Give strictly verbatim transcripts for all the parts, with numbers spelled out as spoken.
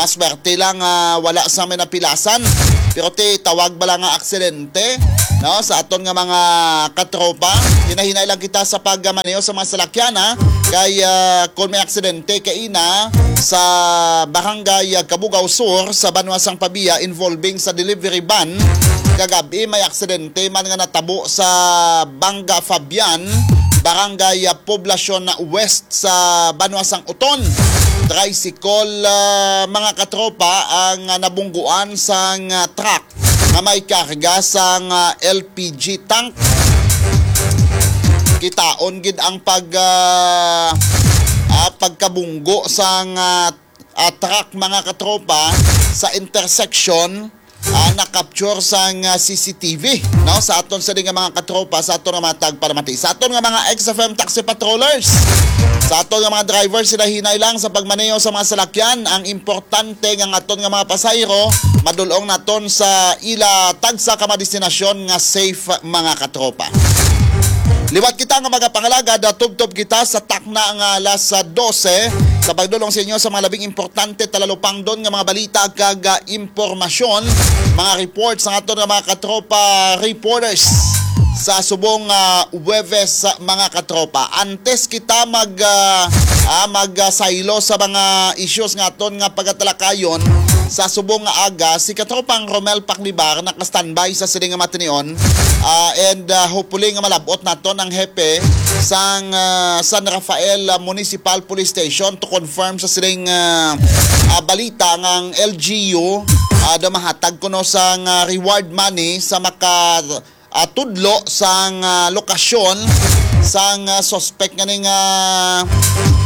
Aswerte lang, ah, wala sa may napilasan. Pero ti tawag bala nga aksidente, no? Sa aton nga mga katropa, hinahinay lang kita sa pagmaneho sa mga salakyan, ha? Kay, ah, kung may aksidente kaina sa Barangay, ah, Cabugao Sur sa Banwa sang Pabia involving sa delivery van, kagab-i may aksidente man nga natabo sa Banga Fabian, Barangay, ah, Poblacion West sa Banwa sang Oton. Tricycle, ah, mga katropa, ang, ah, nabungguan sang, ah, truck nga may karga sang, ah, L P G tank. Kitaon gid ang pag, ah, ah, pagkabunggo sang, ah, ah, truck, mga katropa, sa intersection, ah, na-capture sang, ah, C C T V, no? Sa aton sini nga mga katropa, sa aton nga mga tagpalamati, sa aton nga mga X F M taxi patrollers, sa aton nga mga drivers, sila hinay lang sa pagmaneho sa mga salakyan. Ang importante nga ang aton nga mga pasahero madulong naton sa ila tagsa ka mga destinasyon nga safe, mga katropa. Liwat kita nga magapangalagad, ah, tubtob kita sa takna nga alas dose sa pagdulong sa inyo sa mga labing importante talalupangdon nga mga balita kag, ah, impormasyon, mga reports sa aton nga mga katropa reporters sa subong, ah, Huwebes, ah, mga katropa. Antes kita mag, ah, ah, mag, ah, saylo sa mga issues nga aton nga pagatalakayon sa subong nga aga, si katropang Romel Paklibar naka-standby sa sining nga matinion, ah, and, ah, hopefully nga malab-ot naton ang hepe sang, ah, San Rafael, ah, Municipal Police Station to confirm sa sining, ah, ah, balita nga ang L G U, ah, daw mahatag kuno sang, ah, reward money sa maka, ah, tudlo sang, ah, lokasyon sang, ah, suspect nga ning, ah,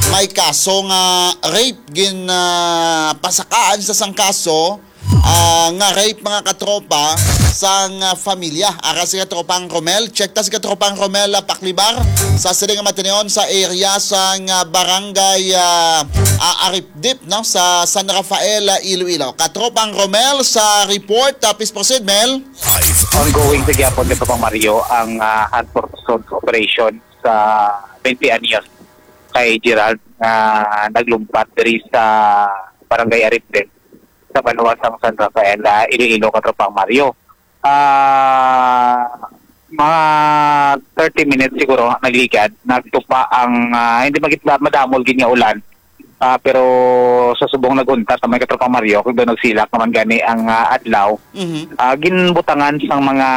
may kaso nga rape, gin, ah, pasakaan sa sang kaso, ah, nga rape, mga katropa, sang, ah, familia. Ara si katropang Romel, check ta si katropang Romel, ah, Paklibar sa sining nga matinion sa area sang, ah, barangay, ah, ah, Aripdip, no, sa San Rafael, ah, Iloilo. Katropang Romel sa report, ah, please proceed, Mel. Live Ongoing sa gyapon ni Papa Mario ang, ah, hunt for custody operation sa twenty anyos kay Gerald nga naglumpat diri sa Barangay Aripdip sa banwa sang San Rafael, ah, Iloilo, Katropang Mario. Ah, mga thirty minutes siguro nagligad, nagtupa ang, ah, hindi magit-, madamol gid nga ulan. Ah, pero sa subong naghuntat naman, Katropang Mario, kung daw nagsilak naman gani ang, ah, adlaw, Mhm. ah, ginbutangan sang mga,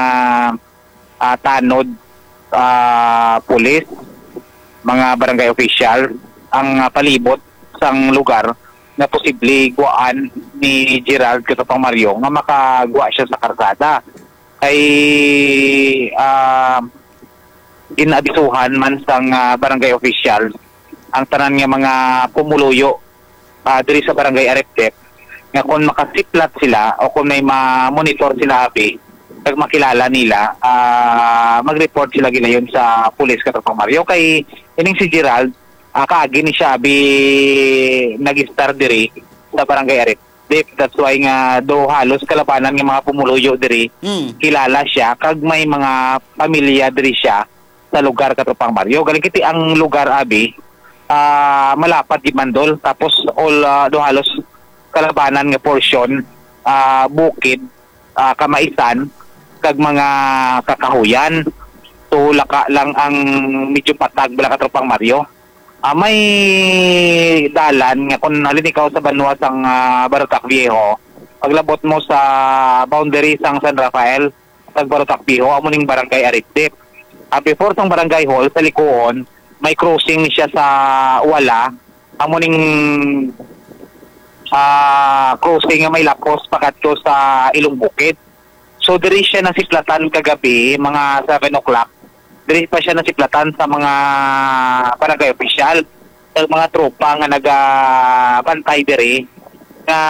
ah, tanod, ah, pulis, mga barangay official, ang, ah, palibot sang lugar nga posible guwaan ni Gerald, Katropang Mario, nga makagwa siya sa karsada. Kay, ah, ginaabisuhan man sang, ah, barangay official ang tanan nga mga pumuluyo, ah, diri sa Barangay Aripdip, nga kung makasiplat sila o kung may ma-monitor sila, abi, kag makilala nila, ah, mag-report sila gilayon sa pulis, Katropang Mario. Kay ining si Gerald, ah, kaagi ni siya, abi, nag-istar diri sa Barangay Aripdip. That's why nga do halos kalabanan nga mga pumuluyo diri, Hmm. kilala siya, kag may mga pamilya diri siya sa lugar, Katropang Mario. Galing kiti ang lugar, abi, ah, malapad gid man, Dol. Tapos all, ah, do halos kalabanan nga portion, ah, bukid, ah, kamaisan, kag mga kakahuyan. So, laka lang ang medyo patag bala, Katropang Mario. Ah, may dalan nga kung halin ikaw sa banwa sang, ah, Barotac Viejo, paglabot mo sa boundary sang San Rafael, kag Barotac Viejo, amo ning Barangay Aripdip. Ah, before sang Barangay Hall, sa likuon, may crossing ni siya sa wala, amo ning, ah, crossing nga may lapos pakadto sa Ilong Bukid. So, diri siya nasiplatan kagabi, mga seven o'clock. Diri pa siya nasiplatan sa mga barangay official, sa mga tropa nga nagabantay diri, nga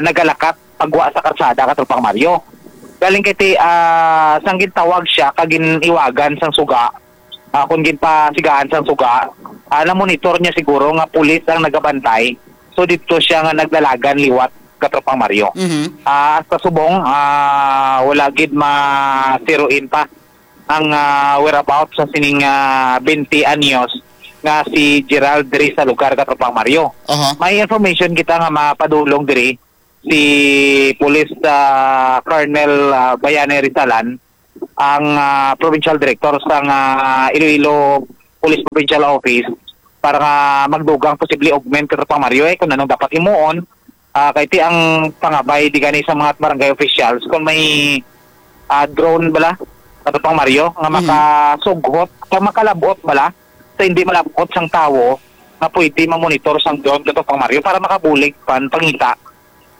nagalakat pagwa sa karsada, Katropang Mario. Galing kay ti-, ah, sang gintawag siya, kag giniwagan sang suga, ah, kung ginpasigaan sang suga, ah, na-monitor niya siguro nga pulis ang nagabantay. So, dito siya nga nagdalagan liwat, Katropang Mario. Mhm. Ah, hasta subong, ah, wala gid masiruin pa ang, ah, whereabouts sa sining, ah, twenty anyos nga si Gerald diri sa lugar, Katropang Mario. Aha. May information kita nga mapadulong diri si Police, ah, Colonel, ah, Bayani Rizalan, ang, ah, provincial director sang, ah, Iloilo Police Provincial Office, para nga magdugang posible augment, Katropang Mario, eh, kung anong dapat himuon. Ah, kay ti ang pangabay di gani sa mga barangay officials kung may, ah, drone bala, Katropang Mario, nga Mhm. makasughot, kung makalabot bala sa hindi malabot sang tawo nga pwede mamonitor sang drone, Katropang Mario, para makabulig pan pangita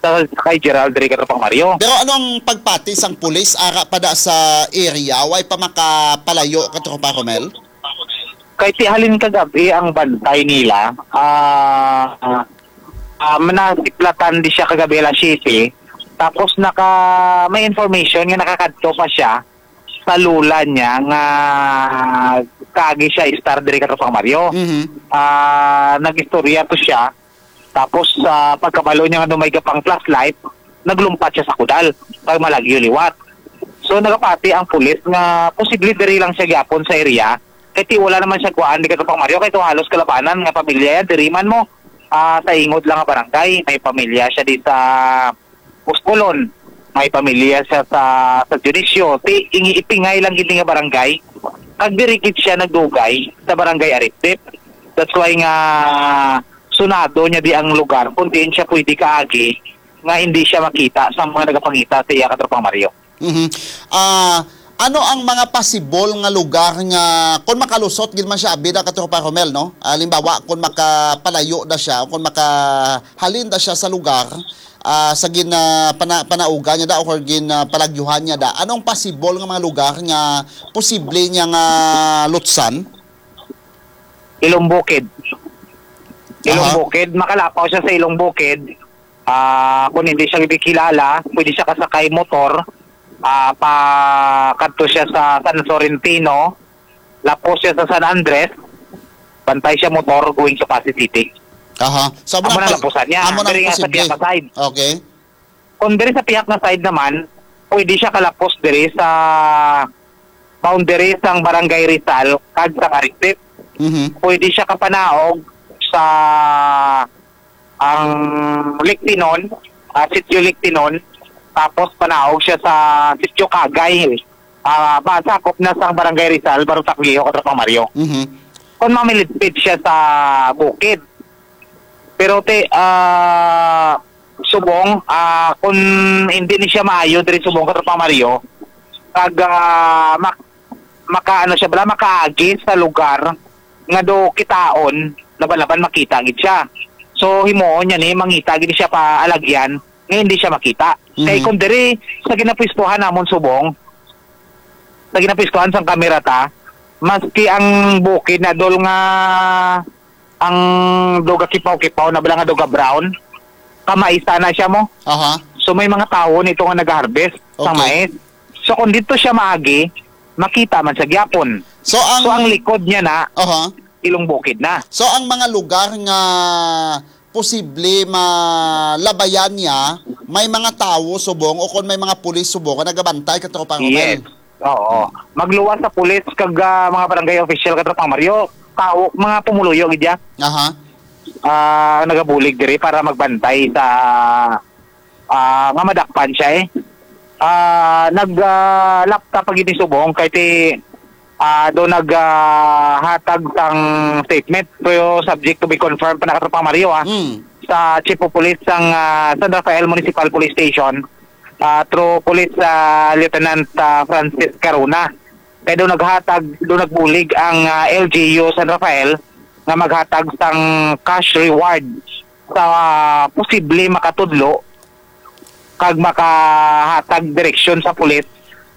sa kay Gerald diri, Katropang Mario. Pero ano ang pagpati sang pulis ara pa da sa area? Way pa makapalayo, Katropa Romel? Kay ti halin kagabi ang bantay nila, ah, ah, manasiplatan di siya kagabi alas siyete. Tapos naka, may information nga nakakadto pa siya sa lula niya nga kagi siya star diri, Katropang Mario. Mhm. Ah, nag-istorya to siya. Tapos, sa pagkabalo niya nga may gapang flashlight, naglumpat siya sa kudal, kag malagyo liwat. So, nagapati ang pulis nga posible diri lang siya gyapon sa area, kay ti wala naman siya kuhaan di, Katropang Mario, kay to halos kalabanan nga pamilya yan, diri man mo, ah, sa ingod lang nga barangay, may pamilya siya di sa Puscolon, may pamilya siya sa, sa Dionisio, ti ingi ipingay lang gid nga barangay, kag diri gid siya nagdugay sa barangay Aritip. That's why nga sunado niya di ang lugar kung diin siya pwede kaagi nga hindi siya makita sa mga nagapangita sa iya, Katropang Mario. Mhm. Ah, ano ang mga pasibol nga lugar nga kung makalusot gid man siya abi da, Katropa Romel, no? Halimbawa, kung makapalayo da siya, kung makahalin da siya sa lugar, ah, sa gin, ah, pana-, panauga niya da o gin, ah, palagyuhan niya da, anong pasibol nga mga lugar nga posible niya nga lutsan? Ilong Bukid. Ilong Aha. Bukid, makalapaw siya sa Ilong Bukid. Ah, kung hindi siya kilala, pwede siya kasakay motor, ah, pa kadto siya sa San Florentino, lapos siya sa San Andres, bantay siya motor going to Passi City. Aha. So, amo Amo na na, lapusan niya. Amo na Diri nga sa posible. Piaca side. Okay. Kung diri sa Piaca side naman, pwede siya kalapos diri sa boundary sang Barangay Rizal kag sa Maricip. Mhm. Pwede siya kapanaog sa ang Lictinon, ah, Sitio Lictinon, tapos panaog siya sa Sitio Kagay. Ah, masakop na sang Barangay Rizal, Barong Takliho, Katropang Mario. Mhm. Kung mamilipid siya sa bukid. Pero ti, ah, subong, ah, kung hindi ni siya maayo diri subong, Katropang Mario, kag, ah, mak-, maka-, ano siya bala, makaagi sa lugar nga do kitaon, laban-laban makita gid siya. So, himuon niya ni, mangita gid siya pa alagyan, nga hindi siya makita. Kay Mhm. kung diri sa ginapwestuhan namon subong, sa ginapwestuhan sang kamera ta, maski ang bukid na dol nga ang duga kipaw-kipaw na bala nga duga brown, kamais na siya mo. Aha. So may mga tawo nito nga nag-harvest sa Okay. mais. So kung dito siya maagi, makita man sa gyapon. So ang So ang likod niya na, Aha. Ilong Bukid na. So ang mga lugar nga posible malabayan niya, may mga tawo subong o kung may mga pulis subong nga nagabantay, Katropa Romel? Yes. Oo. Magluwas sa pulis kag, ah, mga barangay official, Katropang Mario, tawo, mga pumuluyo gid ya. Aha. Ah, nagabulig diri para magbantay sa, ah, nga madakpan siya eh. Ah, nag, ah, lapta pa gid ni subong kay ti, ah, do nag, ah, hatag sang statement, pero subject to be confirmed pa na, Katropang Mario, ah. Mm. Sa Chief of Police sang, ah, San Rafael Municipal Police Station, ah, through Police, ah, Lieutenant, ah, Francis Caruna. Kay do naghatag, do nagbulig ang, ah, L G U San Rafael nga maghatag sang cash reward sa, ah, posible makatudlo kag makahatag direksyon sa pulis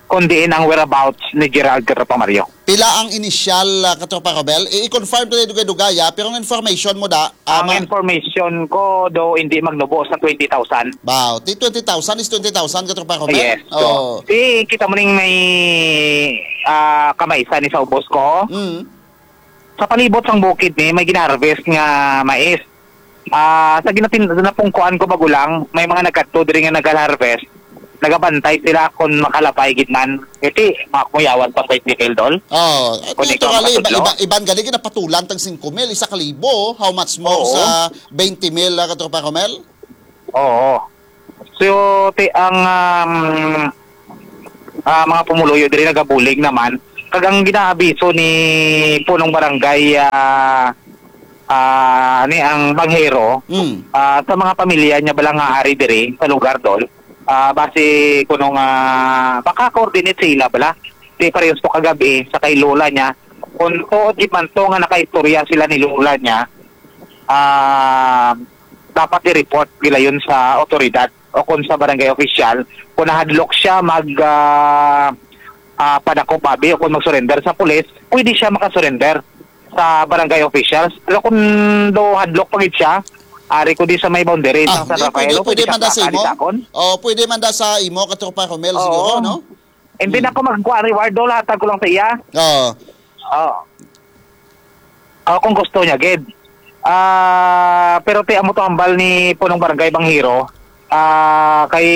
kung diin ang whereabouts ni Gerald, Katropa Mario. Pila ang inisyal, ah, Katropa Romel? I-confirm to dugay-dugay, ah, pero ang information mo da, ah, Ang ma- information ko do hindi magnubo sa twenty thousand. Wow, di twenty thousand is twenty thousand, Katropa Romel? Yes, so, Oh. di kita mo ning may, ah, kamaisan ni sa ubos ko. Mm. Sa palibot sang bukid ni, may gin-harvest nga mais. Ah, sa ginatin-, napungkuan ko magulang, may mga nagkadto diri nga nag-harvest. nagabantay sila kung makalabay gid man. Kasi, makuyawan pa sa detail, Dol. Oh, Kung ikaw naturally, iba, makatudlo. iba, iban gani, ginapatulan tag singko mil, isa ka libo, how much more Oo. sa twenty mil, ah, Katropa Romel? Oo. So, ti-, ang, um, ah, mga pumuluyo diri nagabulig naman, kag ang ginaabiso ni punong barangay, ah, ah, ni ang Banghero, Mm. ah, sa mga pamilya niya bala nga ari diri sa lugar, Dol, ah, base kuno nga maka-coordinate sila bala. Di parehas to kagabi sa kay lola niya. Kung tuod gid man to nga nakaistorya sila ni lola niya, ah, dapat i-report nila yun sa otoridad o kung sa barangay official. Kung nahadlok siya mag, ah, ah, padakop abi o kung mag-surrender sa pulis, pwede siya makasurrender sa barangay officials. Pero kung do hadlok pa gid siya, ari ko di sa may boundary Ah, sa San di, Rafael, pwede, o pwede pwede siya man da sa imo? Kakalitakon. Oh, pwede man da sa imo, Katropa Romel, Oo. siguro, no? Hindi Hmm. na ako magkuha reward, Dol, hatag ko lang sa iya. Oo. Oo. Oh, kung gusto niya, gid. Ah, pero ti amo to hambal ni punong barangay Banghero. Ah, kay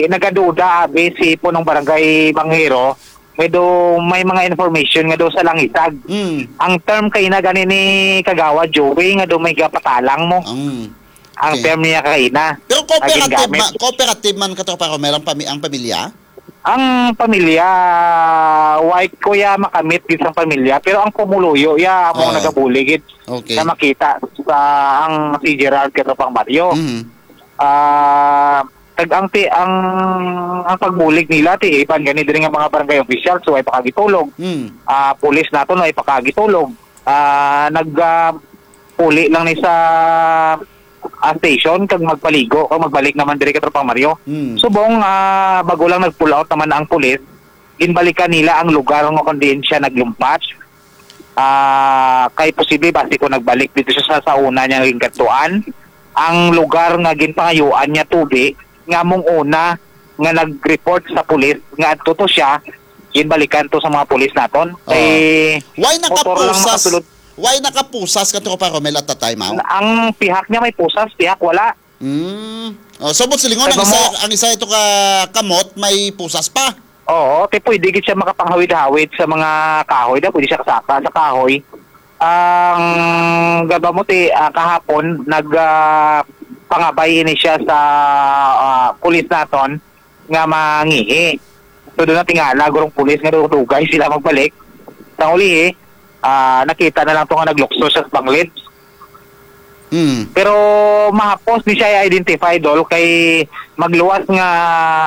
nagaduda abi si punong barangay Banghero. May do, may mga information nga do sa langisag. Mm. Ang term kay na gani ni Kagawad Joey nga do may gapatalang mo. Mm. Ang Okay. term niya kay na. Pero cooperative Naging gamit. man, cooperative man, Katropa Romel, ang pami-, ang pamilya? Ang pamilya, white ko ya makamit gid sang pamilya, pero ang pumuluyo ya amo Ah. nagabuligid Okay. na makita sa ang si Gerald Katropang Mario. Mhm. Ah, tag ang ti-, ang, ang pagbulig nila ti iban gani diri nga mga barangay official, so ay pakagitulog. Mm. Ah, pulis nato no ay pakagitulog. Ah, nag, ah, puli lang ni sa, ah, station kag magpaligo kag magbalik naman diri, Katropang Mario. Mm. Subong, ah, bago lang nag-pull out naman ang pulis, ginbalikan nila ang lugar nga kung diin siya naglumpas. Ah, kay posible basi kung nagbalik dito siya sa, sa una niya gingadtuan, ang lugar nga ginpangayuan niya tubi nga mong una nga nag-report sa pulis nga adto to siya, ginbalikan to sa mga pulis naton. Oh. Kay Why motor lang nakapusas? makasulod. Why nakapusas, Katropa Romel, at that time, aw? Ang pihak niya may pusas, pihak wala. Mm. Oh, so, but silingon, Kay ang isa, bamo- ang isa ito ka kamot, may pusas pa. Oo, ti pwede gid siya makapanghawid-hawid sa mga kahoy, da pwede siya kasaka sa kahoy. Ang gaba mo ti, ah, kahapon nag, ah, pangabay ini siya sa, ah, pulis naton nga mangihi. So, doon na tingala gurong pulis nga dugay sila magbalik. Sa ulihi, ah, nakita na lang to nga naglukso siya sa panglid. Hmm. Pero mahapos ni siya i-identify, Dol, kay magluwas nga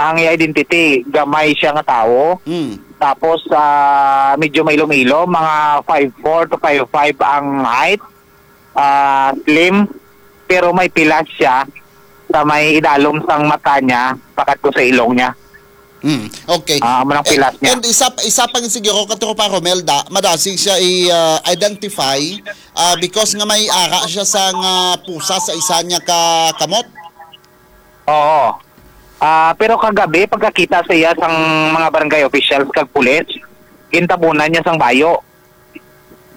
ang iya identity, gamay siya nga tawo. Hmm. Tapos, ah, medyo mailom-ilom, mga five four to five five ang height. Ah, slim, pero may pilas siya sa may idalom sang mata niya, pakadto sa ilong niya. Hmm, okay. Ah, amo nang Eh, pilas niya. And isa, isa pa nga siguro, Katropa Romel, da, madasig siya i-, ah, identify, ah, because nga may ara siya sa nga pusa sa isa niya ka kamot. Oo. Ah, pero kagabi, pagkakita sa iya sang mga barangay officials kag pulis, gintabunan niya sang bayo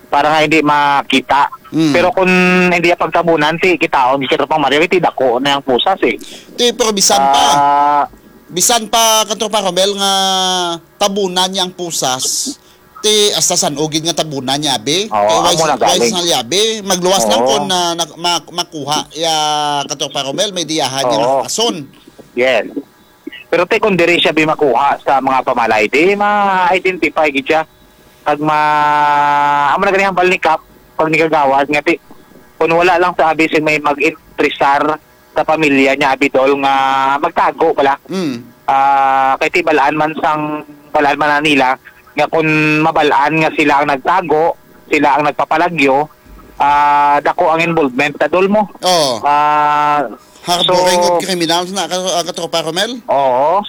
para nga hindi makita. Mm. Pero kung hindi niya pagtabunan, ti kitaon, kita pang Mario, ti dako na ang pusas eh. Ti, pero bisan pa, Ah, bisan pa, Katropa Romel, nga tabunan niya ang pusas, ti hasta san-o gid nga tabunan niya, abi. Oo, Kay amo wise, na galing. wise na liya, abi. Magluwas lang Oo. kung na, na, ma-, makuha ya, Katropa Romel, may diyahan niya Oo. nga kason. Yes. Pero ti kung diri siya bi makuha sa mga pamalay, di ma-identify gid siya. Pag ma-, amo na gani ang hambal ni Kap, pag ni Kagawad, nga ti, kung wala lang sa abi sing may mag-interesar sa pamilya niya, abi Dol, nga magtago pala. Mm. Ah, kay ti balaan man sang, balaan man na nila, nga kung mabalaan nga sila ang nagtago, sila ang nagpapalagyo, ah, dako ang involvement na Dol mo. Oo. Ah, Harboring so, of criminals na, ka-, ah, Katropa Romel? Oo.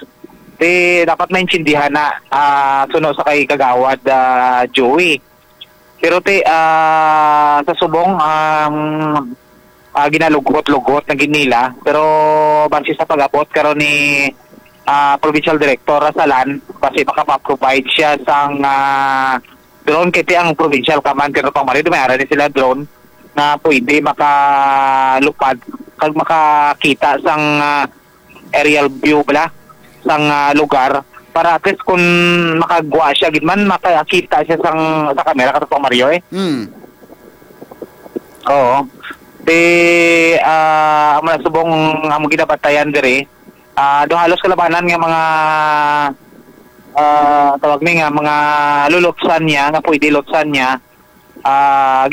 Ti dapat maintindihan na, ah, suno sa kay Kagawad, ah, Joey. Pero ti, ah, sa subong, um, ah, ginalugot-lugot na gid nila. Pero base sa pag-abot karon ni, ah, Provincial Director Rasalan, base makapa-provide siya sang, ah, drone, kay ti ang provincial command, pero pang Mario, may ara ni sila drone na pwede makalupad kag makakita sang, ah, aerial view bala. sang, ah, lugar para at least kung makagwa siya gid man, makakita siya sang, sa kamera, Katapang Mario, eh. Mm. Oo. Di, ah, amo na subong among ginabatayan diri. Ah, do halos kalabanan nga mga, ah, tawag ni nga mga lulutsan niya, nga pwede lutsan niya. Ah,